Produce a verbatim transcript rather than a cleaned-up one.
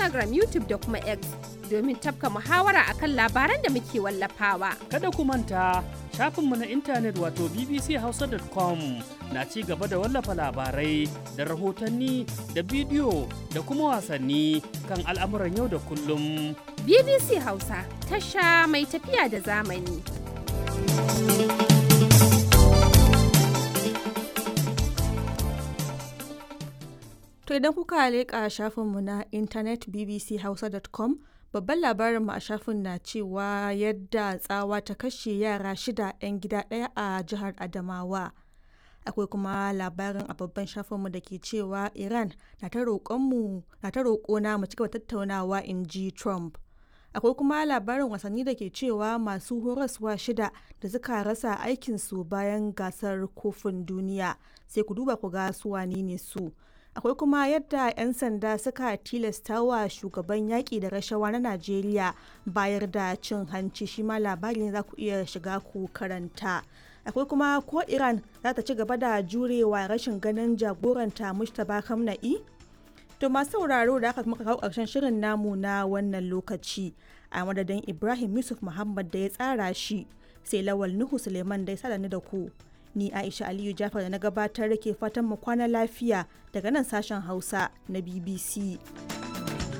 Instagram, YouTube da kuma X domin tafka muhawara akan labaran da muke wallafawa. Kada ku manta shafinmu na intanet wato bbchausa dot com na ci gaba da wallafa labarai da rahotanni da bidiyo da kuma wasanni kan al'amuran yau da kullum. B B C Hausa, tasha mai tafiya da zamani. To idan kuka leƙa shafinmu na intanet bbchausa dot com, babban labarinmu a shafin na cewa yadda tsawa ta kashe yara shida 'yan gida ɗaya a jihar Adamawa. Akwai kuma labarin a babban shafinmu da ke cewa Iran na ta roƙona mu cigaba tattaunawa, in ji Trump. Akwai kuma labarin wasanni da ke cewa masu horaswa shida da suka rasa aikinsu bayan gasar kofin duniya. Sai ku duba ku ga su wane ne su. Akwai kuma yadda 'yan sanda suka tilasta wa shugaban yaƙi da rashawa na Najeriya bayar da cin hanci, shi ma labari ne za ku iya shiga ku karanta. Akwai kuma ko Iran za ta ci gaba da jurewa rashin ganin jagoranta Mustapha Khamenei? To masu sauraro, da aka muka kawo ƙarshen shirin namu na wannan lokaci, a madadin Ibrahim Yusuf Muhammad da ya tsara shi, sai Lawal Nuhu Suleiman da ya sada ni da ku. Ni Aisha Aliyu Jafar da na gabatar ke fatan mu kwana lafiya daga nan sashen Hausa na B B C.